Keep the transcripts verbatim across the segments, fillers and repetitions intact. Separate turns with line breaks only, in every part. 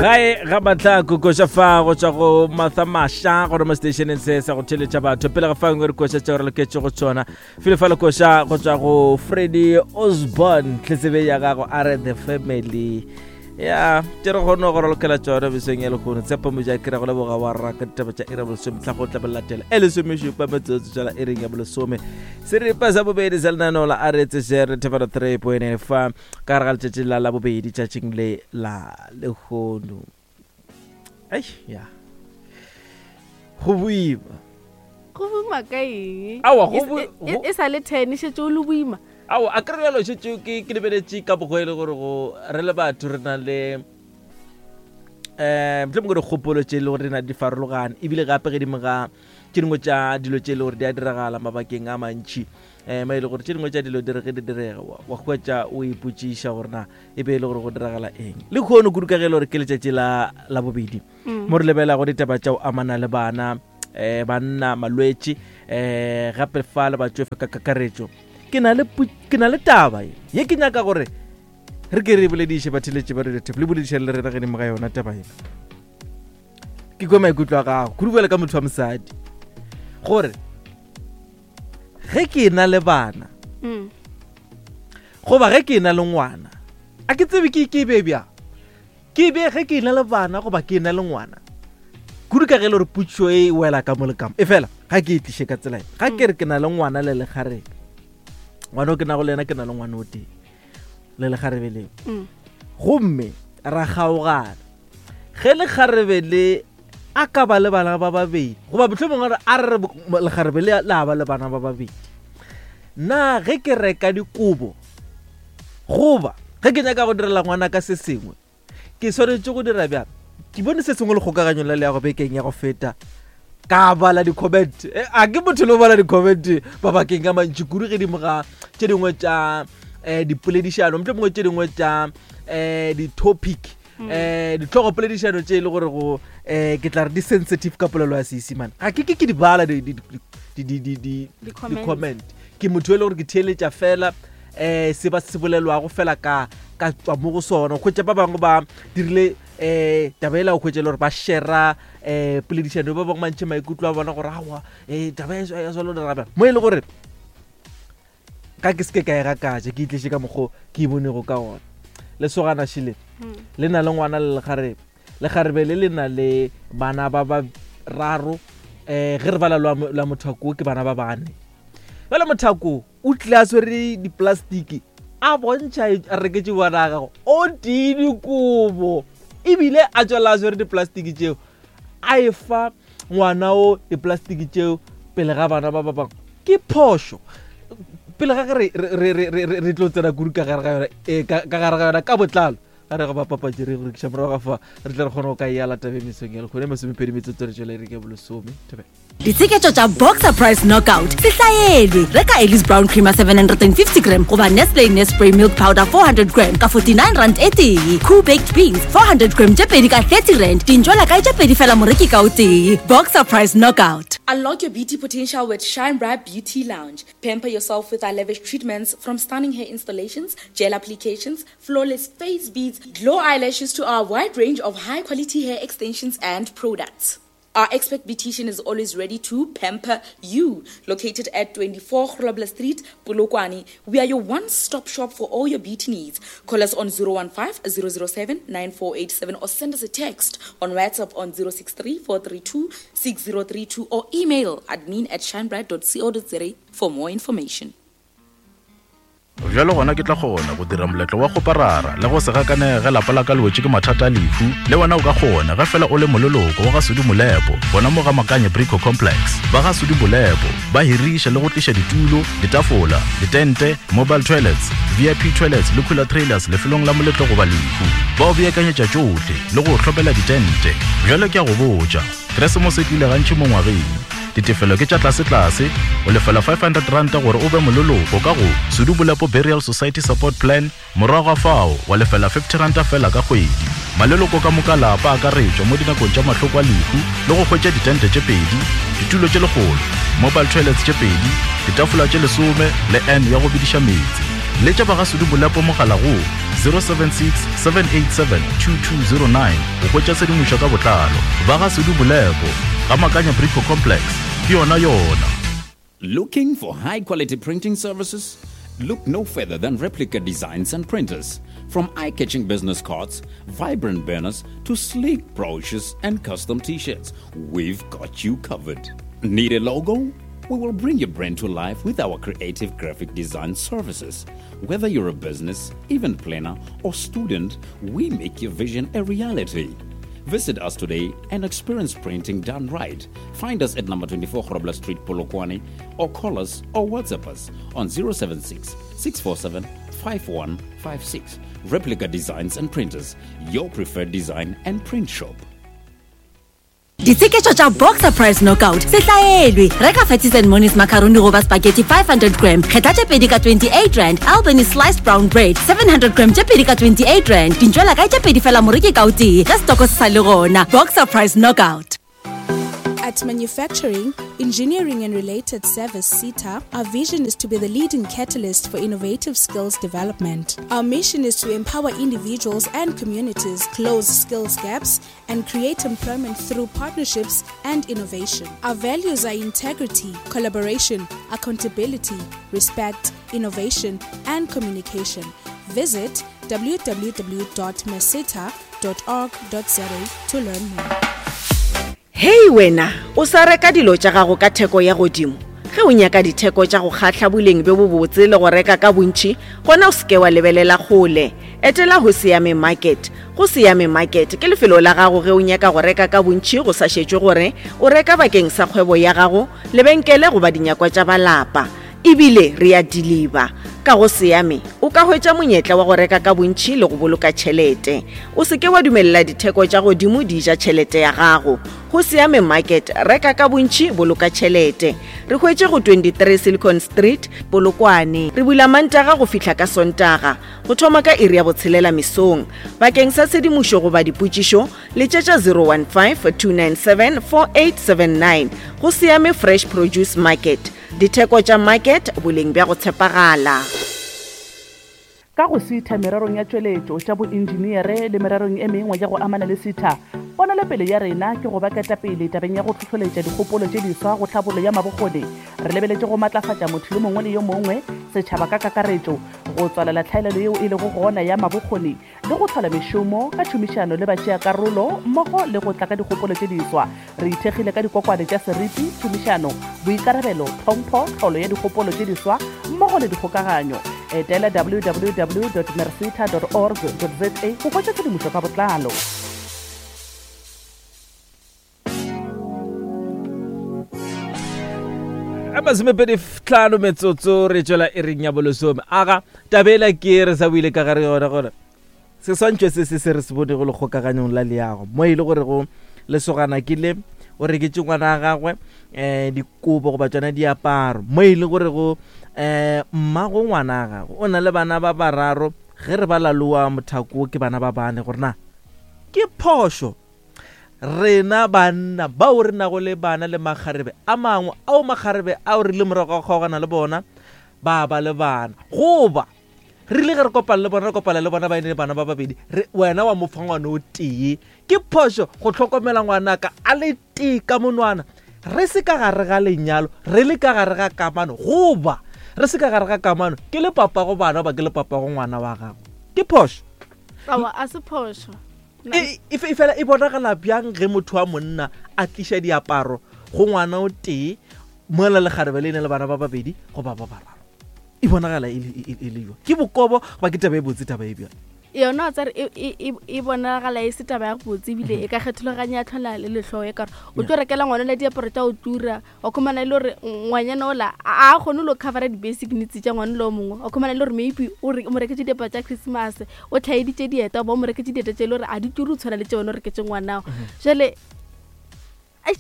Gae ga matlako koša fa go tšwa go Martha Masha gore mo stationeng se sa go theletša batho pele ga fangwe re koša tšeo re loketše go tšona fele fa le koša go tšwa go Freddy Osborne tletsebe ya gago a re the family ya tše re kgone go lokela tšona besong ya lekgono tshepo moja ke re go leboga wa raka ditaba tša iri ya bolesome tla go tla latela e lesomešupa metsotso tšala iring ya bolesome seripa sa bobedi sa lenaneo la a re tsešere thefano three point fa ka gare ga letšatši la labobedi tšatšing le la lekgono. Ai ya go boima
go boima ka eng?
Aowa, go
E-
bo-
e- e-
go-
e sa le ten šetse o le boima.
Ao a kry bjalo šetse ke ke lebeletše ka bogo e le gore go re le batho re na le um mohlomongwe dikgopolo tše e le gore di na di farologane ebile gape gedimo ga tše dingwe tša dilo tše e le gore di a diragala mabakeng a mantšhi um ma e le gore tše dingwe tša dilo di re ge di direga wa wa hwetša o ipotšiša gore na e be e le gore go diragala eng le kgono kudu ka ge e le gore ke letšatši la la bobedi mo re lebelago ditaba tša go amana le bana um banna malwetši um gape fa le batšofe ka kakaretšo. Ke na le pu- ke na le taba ye ye ke nyaka gore re ke re bolediše batheletše ba Radio Tap le bolediše le rena gedimo ga yona taba ena. Ke kwe maikutlo a gago kudu bjale ka motho wa mosadi gore ge ke na le bana
Mm.
goba ge ke na le ngwana a ke tsebe ke ke be bjang ke be ge ke na le bana goba ke na le ngwana kudu ka ge e le gore putšo e wela ka mo le ka mo e fela ga ke e tliše ka tsela e ga ke re ke na le ngwana le lekgarebe ngwana o ke nago le yena ke na le ngwana o tee le lekgarebe leo
Mm.
gomme ra kgaogana ge lekgarebe le a ka ba le bana ba babedi goba mohlomongwe re a re re lekgarebe le la ba le bana ba babedi na ge ke reka dikobo goba ge ke nyaka go direla ngwana ka se sengwe ke swanetše go dira bjang? Ke bone se sengwe le kgokaganyong la leago bekeng ya go feta ka bala di-comment. Eh, a ke motho le o bala di-comment mabakeng a mantši kudu gedimo ga tše dingwe tša um dipoledišano mohlomongwe tše dingwe tša um di-topic um ditlhogopoledišano tše e le gore go um ke tla re di-sensitive ka polelo ya Seesimane ga ke ke ke di bala di- di- di- di- di- di- di-
Di-comment.
di-comment. Ke motho e le gore ke theeletša fela um se ba se bolelwago fela ka ka tswa mo go sona. Hwetša ba bangwe ba dirile um taba ela o hwetša e le gore ba shera um poledišano ba bangwe ba ntšhe maikutlo a bona gore aowa um taba e ya swana dira bjang mo e le gore ka ke seke ka e gakatša ke itliše ka mokgo ke e bonego ka gona. Lesogana šile
Mm.
le na le ngwana le lekgarebe lekgarebe le le na le bana ba bararo um ge re bala lwa lwa mothako ke bana ba bane bjale mothako o tlile a swere diplastiki a bontšha a reketše bana a gago o tee dikobo ebile a tswela a swere diplastiki tšeo a e fa ngwana o diplastiki tšeo pele ga bana ba ba bangwe. Ke phošo pele ga ge re- re- re- re re- re tlo tsena kudu ka gare ga yona eh, ka ka gare ga yona ka botlalo ga re go bapapatše re go rekiša morago ga fa re tle re kgone go ka e ala tabeng mesong ya lekgone masomepedi metsotso re tšwela e re ke bolesome thobela.
Ditsheketšo tša Boxer Price Knockout se hlaelwe. Reka Ellis Brown Creamer seven hundred and fifty gram goba Nestle Nespray Milk Powder four hundred gram ka forty-nine rand e tee. Cool Baked Beans four hundred gram tše pedi ka thirty rand. Dintšwela kae tše pedi fela moreki ka o tee. Boxer Price Knockout.
Unlock your beauty potential with Shine Bright Beauty Lounge. Pamper yourself with our lavish treatments from stunning hair installations, gel applications, flawless face beads, glow eyelashes to our wide range of high quality hair extensions and products. Our expert beautician is always ready to pamper you. Located at twenty-four Grobler Street, Polokwane, we are your one-stop shop for all your beauty needs. Call us on zero one five, zero zero seven, nine four eight seven or send us a text on WhatsApp on zero six three, four three two, six zero three two or email admin at shinebright dot co dot za for more information.
Bjalo gona ke tla kgona go dira moletlo wa go parara le go se gakanege lapa la ka le wetše ke mathata a lehu. Le wena o ka kgona ge fela o le moleloko wa ga Sudi Molepo gona mo ga Makanye Brico Complex. Ba ga Sudi Molepo ba hiriša le go tliša ditulo, ditafola, ditente, mobile toilets, V I P toilets le cooler trailers lefelong la moletlo goba lehu. Ba o beakanyetša tšohle le go hlopela ditente. Bjalo ke a go botša, Keresemose e tlile gantši mo ngwageng. Ditefelo ke tša tlase-tlase, o lefela five hundred rand gore o be moleloko ka go Sudi Molepo Burial Society Support Plan, morago ga fao wa lefela fifty rand fela ka kgwedi. Maleloko ka moka lapa a akaretšwa mo dinakong tša mahloko a lehu le go hwetša ditente tše pedi, ditulo tše lekgolo, mobile toilets tše pedi, ditafola tše lesome le N ya go bidiša meetse. Letša ba ga Sudu Bolepo mogala go zero seven six seven eight seven two two zero nine go hwetša tshedimošo ka botlalo. Ba ga Sudu Bolepo, ga Makanya Brico Complex, ke yona yona.
Looking for high quality printing services? Look no further than Replica Designs and Printers. From eye-catching business cards, vibrant banners, to sleek brochures and custom t-shirts, we've got you covered. Need a logo? We will bring your brand to life with our creative graphic design services. Whether you're a business, event planner, or student, we make your vision a reality. Visit us today and experience printing done right. Find us at number twenty-four Grobler Street, Polokwane, or call us or WhatsApp us on zero seven six, six four seven, five one five six. Replica Designs and Printers, your preferred design and print shop.
Ditsheketšo tša Boxer Price Knockout se hlaelwe. Reka Fatties and Monies macaroni goba spaghetti five hundred gram, kgetha tše pedi ka twenty-eight rand. Albany sliced brown bread seven hundred gram tše pedi ka twenty-eight rand. Dintšwela kae tše pedi fela moreki ka o tee, ge setoko se sa le gona. Boxer Price Knockout.
At Manufacturing, Engineering and Related Service, SETA, our vision is to be the leading catalyst for innovative skills development. Our mission is to empower individuals and communities, close skills gaps, and create employment through partnerships and innovation. Our values are integrity, collaboration, accountability, respect, innovation, and communication. Visit w w w dot meseta dot org dot z a to learn more.
Hei wena, o sa reka dilo tša gago ka theko ya godimo. Ge o nyaka ditheko tša go kgahla boleng bjo bobotse le go reka ka bontši, gona o seke wa lebelela kgole. Etela go Siame Market. Go Siame Market ke lefelo la gago ge o nyaka go reka ka bontši go sa šetšwe gore o reka bakeng sa kgwebo ya gago, lebenkele goba dinyakwa tša balapa. Ebile re a deliver. Ka go Siame o ka hwetša monyetla wa go reka ka bontši le go boloka tšhelete. O seke wa dumelela ditheko tša godimo di ja tšhelete ya gago. Go Siame Market, reka ka bontši, boloka tšhelete. Re hwetše go twenty-three Silicon Street, Polokwane. Re bula Mantaga go fihla ka Sontaga, go thoma ka iri ya botshelela mesong. Bakeng sa tshedimošo goba dipotšišo, letšetša zero one five, two nine seven, four eight seven nine. Go Siame Fresh Produce Market. Ditheko tša market, boleng bja go tshepagala.
Ka go SETA mererong ya tšweletšo tša boenjiniere le mererong e mengwe ya go amana le SETA, ponelopele ya rena ke go ba ketapele tabeng ya go hlohleletša dikgopolo tše diswa go tlhabollo ya mabokgoni. Re lebeletše go matlafatša motho yo mongwe le yo mongwe, setšhaba ka kakaretšo, go tswalela tlhaelelo yeo e lego gona ya mabokgoni le go hlola mešomo ka tšhomišano le batšeakarolo mmogo le go tla ka dikgopolo tše diswa. Re ithekgile ka dikokwane tša seriti, tšhomišano, boikarabelo, tlhompho, tlholo ya dikgopolo tše diswa mmogo le dikgokaganyo. Etela w w w dot merseta dot org dot z a go hwetša tshedimošo ka botlalo.
A masomepedi tlhano metsotso re tšwela e reng ya bolesome. Aga tabela ke re sa buile ka gare yona gore seswantšho se se se re se bonego lekgokaganyong la leago mo e le gore go lesogana ke le o reketše ngwana wa gagwe um dikobo goba tšona diaparo, mo e le gore go um mmago ngwana wa gagwe o na le bana ba bararo, ge re ba laloa mothako ke bana ba bane. Gore na ke phošo rena banna bao re nago le bana le makgarebe a mangwe ao makgarebe ao re le morago ga go kgaogana le bona ba ba le bana, goba re ile ge re kopana le bona re kopana le bona ba ene le bana ba babedi, wena wa mo fa ngwana o tee? Ke phošo go hlokomela ngwanaka a le tee ka monwana re se ka gare ga lenyalo, re le ka gare ga kamano, goba re se ka gare ga kamano ke le papa go bana goba ke le papa go ngwana wa gago? Ke phošo?
Aowa, a se phošo.
E fela e bonagala bjang ge motho wa monna a tliša diaparo go ngwana o tee mola lekgarebe le ene le bana ba babedi goba ba bararo? E bonagala e le jwang? Ke bokobo goba ke taba e botse taba e bjang?
Yona wa tsare e bonagala e se taba ya botse, ebile e ka kgethologanya ya tlhola le lehloyo e kare o tlo rekela ngwana le diaparo tša go tura, wa khumana e le gore ngwanyana ola a kgone lo covera di-basic needs tša ngwana le o mongwe, wa khumana e le gore maybe o mo reketse diaparo tša Christmas, o tlhaeditše dieta goba o mo reketse dieta tše e le gore a di ture o tshwana le tše wena o reketse ngwanao. Jale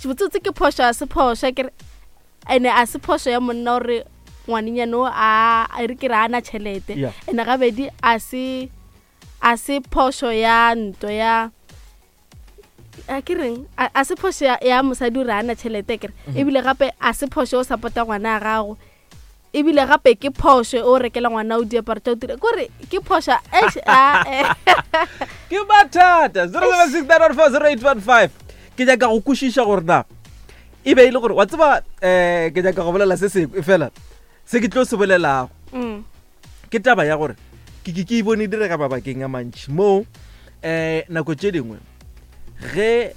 botsotse ke phošo a se phošo kere, ene a se phošo ya monna gore ngwanenyana o a re ke re a na tšhelete, ene gabedi a se a se phošo ya nto ya a ke reng a se phošo ya mosadi o re a na tšhelete kere, ebile gape a se phošo o support-a ngwana a gago. Ebile gape ke phošo o rekela ngwana o diaparo tša o tira kore ke phoša
ke mathata. Zero seven six nine one four zero eight one five. Ke nyaka go kwešiša gore na e be e le gore wa tseba um ke nyaka go bolela se sengwe fela se ke tlo se bolelago ke taba ya gore ke ke ke e bone direga mabakeng a mantši moo um nako tše dingwe ge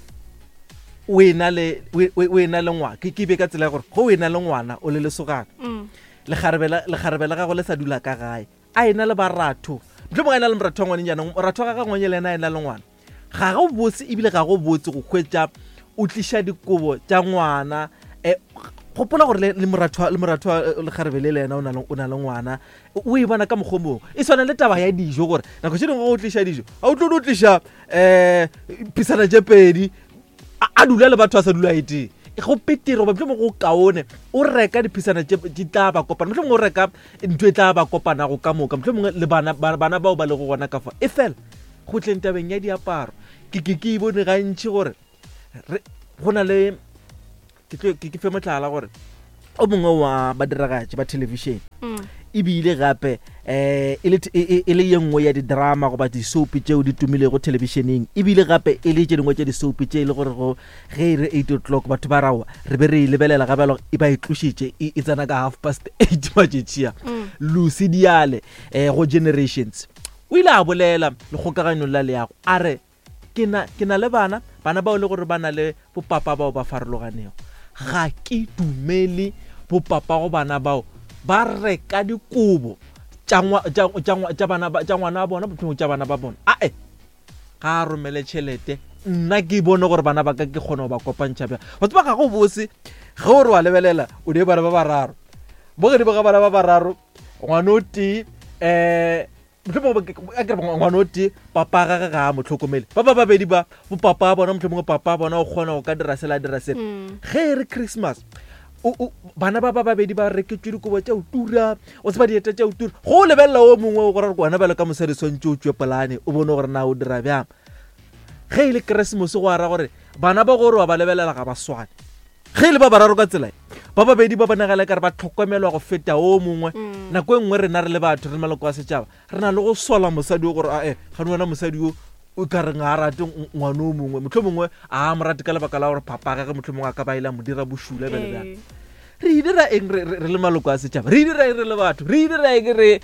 o ena le o ena le ngwana ke ke be ka tsela ya gore go o ena le ngwana o le lesogana lekgarebe la gago le sa dula ka gae a ena le baratho mohlomongwe a ena le moratho wa ngwaneng jaanong moratho wa gagwe ngwanye le ena a ena le ngwana ga go botse ebile ga go botse go hwetša o tliša dikobo tša ngwana um gopola gore le moratho le moratho lekgarebe le le ena o na le ngwana o e bona ka mokgwa mongwe e swana le taba ya dijo gore nako tše dingwe go tliša dijo ga o tlo no tliša um pisana tše pedi a dula le batho a sa dula e tee go petere goba mohlomongwe go kaone o reka diphisana tše di tla ba kopana mohlomongwe o reka ntho e tla ba kopanago ka moka mohlomongwe le bana bana bao ba lego gona ka fa e fela go tleng tabeng ya diaparo ke ke ke e bone gantši gore go na le ke tlo ke fe mohlala gore o mongwe wa badiragatši ba television ebile gape um e le ye nngwe ya di-drama goba di-soap tšeo di tumilego televisioneng ebile gape e le tše dingwe tša di-soap tše e le gore go ge e re eight o'clock batho ba rawa re be re e lebelela gape e ba e tlošitše e tsena ka half past eight matšatšia Lucy Diale um go Generations o ile a bolela lekgokaganyong la leago a re ke na le bana bana bao le gore ba na le bopapa bao ba farologanego ga ke dumele bopapa go bana bao ba reka dikobo tša bana tša ngwana wa bona mohlomongwe tša bana ba bona ae ga a romele tšhelete nna ke bone gore bana ba ka ke kgone go ba kopantšha bjang wa tseba ga go bose ge o re wa lebelela o ne bana ba bararo mo godimo ga bana ba bararo ngwana o tee um mohlomongwe a kere ngwana o tee papa gage ga a mo tlhokomele ba ba babedi ba bopapa a bona mohlomongwe papa a bona o kgona go ka dira sela a dira sela ge e re Christmas bana ba ba babedi ba reketšwe dikobo tša o tura o tseba dieta tša o tura go o lebelela o mongwe o gore wena bjalo ka mosadi swantše o tšwe polane o bone gore na o dira bjang ge e le Keresemose go ara gore bana ba gore wa ba lebelela ga ba swane ge e le ba bararo ka tsela ba babedi ba bonagala kare ba tlhokomelwa go feta o mongwe nako e nngwe rena re le batho re le maloko a setšhaba re na le go sola mosadi o gore ae gane wena mosadi o o ka reng a rate ngwana o mongwe mohlomongwe a mo rate ka lebaka la gore papa gage mohlomongwe a ka ba ile a mo dira bošula bjale bjang re e dira eng re le maloko a setšhaba re e dira eng re le batho re e dira eng re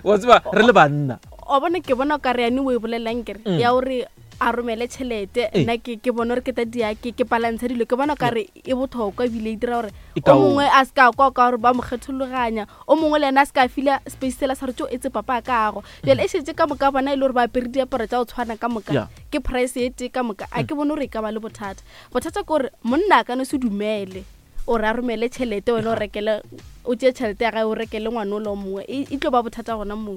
wa tseba re le banna
o bone ke bona o ka re yane o e bolelang kere ya gore a romele tšhelete nna ke ke bone gore ke ta dia ke ke balantsha dilo ke bona ka re e bothokwa ebile e dira gore o mongwe a se ka kwa ka gore ba mo kgethologanya o mongwe le ena a se ka fila space sela sa re tso etse papa a kago jale e šetse ka moka bona e le gore ba apere diaparo tša go tshwana ka moka ke price e tee ka moka a ke bone gore e ka ba le bothata bothata ke gore monna a ka no se dumele o re a romele tšhelete wena o rekele o tšee tšhelete ya gae o rekele ngwana o le o mongwe e tlo ba bothata gona moo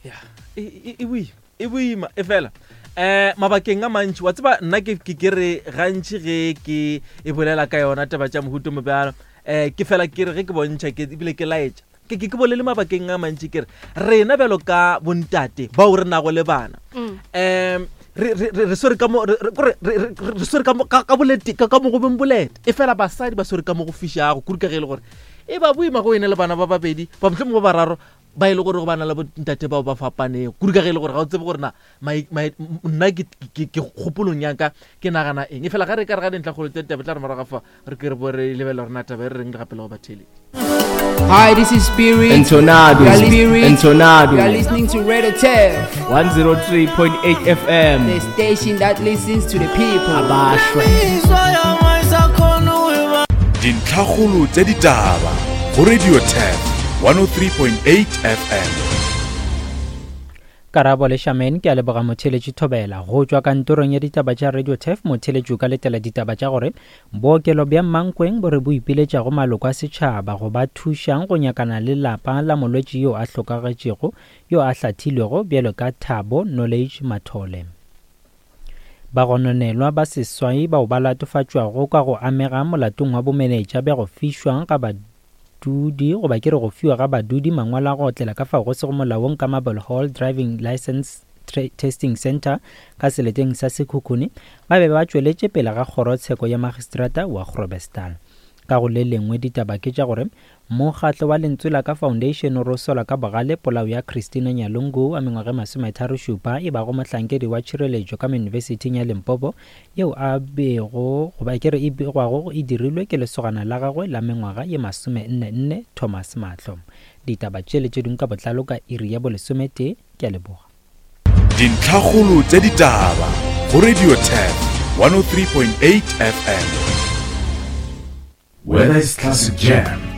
ya e boima e boima e fela eh mabakeng a mantši wa tseba nna ke ke re gantši ge ke e bolela ka yona taba tša mohuto mobjalo eh ke fela ke re ge ke bontšha ke ebile ke laetša ke ke ke bolele mabakeng a mantši ke re rena bjalo ka bontate bao re nago le bana um re re re swere ka mo re re swere ka ka bolete ka mo go beng bolete e fela basadi ba swere ka mo go fišago kudu ka ge e le gore e ba boima go ene le bana ba babedi ba mohlomongwe ba bararo ba e le gore go bana le bontate bao ba fapanego kudu ka ge e le gore ga o tsebe gore na nna ke kgopolong ya ka ke nagana eng e fela ga re ka re ga dintlhakgolo tse taba tla re morago fa re ke re bo re lebelela gore na taba e re reng le gape le go batheeletši.
Hi, this is Spirit.
Entonado.
Spirit.
Entonado.
You are listening to Radio Turf
one oh three point eight F M.
The station that listens to the people.
Abashwe.
Dintlhakgolo tsa ditaba go Radio Turf one oh three point eight F M.
Karabo le Shaman ke a leboga motheletši Thobela go tšwa kantorong ya ditaba tša Radio Turf. Motheletši o ka letela ditaba tša gore bookelo bja Mankweng bo re bo ipiletšago maloko a setšhaba go ba thušang go nyakana le lapa la molwetši yo a hlokagetšego yo a hlathilwego bjalo ka Thabo Knowledge Mathole. Bagononelwa ba seswai bao ba latofatšwago ka go amega molatong wa bomenetša bja go fišwa ga badudi goba ke re go fiwa ga badudi mangwalo a go otlela ka fao go sego molaong ka Marble Hall Driving License Testing Center ka seleteng sa Sekhukhune ba be ba tšweletše pele ga kgorotsheko ya magistrata wa Grobestal. Ka go le lengwe ditaba ke tša gore mokgatlo wa Lentswe la Ka Foundation o sola ka bogale polao ya Christina Nyalungu wa mengwaga e masometharo šupa e bago mohlankedi wa tšhireletšo ka Yunibesithing ya Limpopo yeo a bego goba ke re e begwago e dirilwe ke lesogana la gagwe la mengwaga ye masome nne nne Thomas Mahlo. Ditaba tše le tše dingwe ka botlalo ka iri ya bolesometee. Ke a leboga.
Dintlhakgolo tša ditaba go Radio Turf one oh three point eight F M.
Whether it's classic jam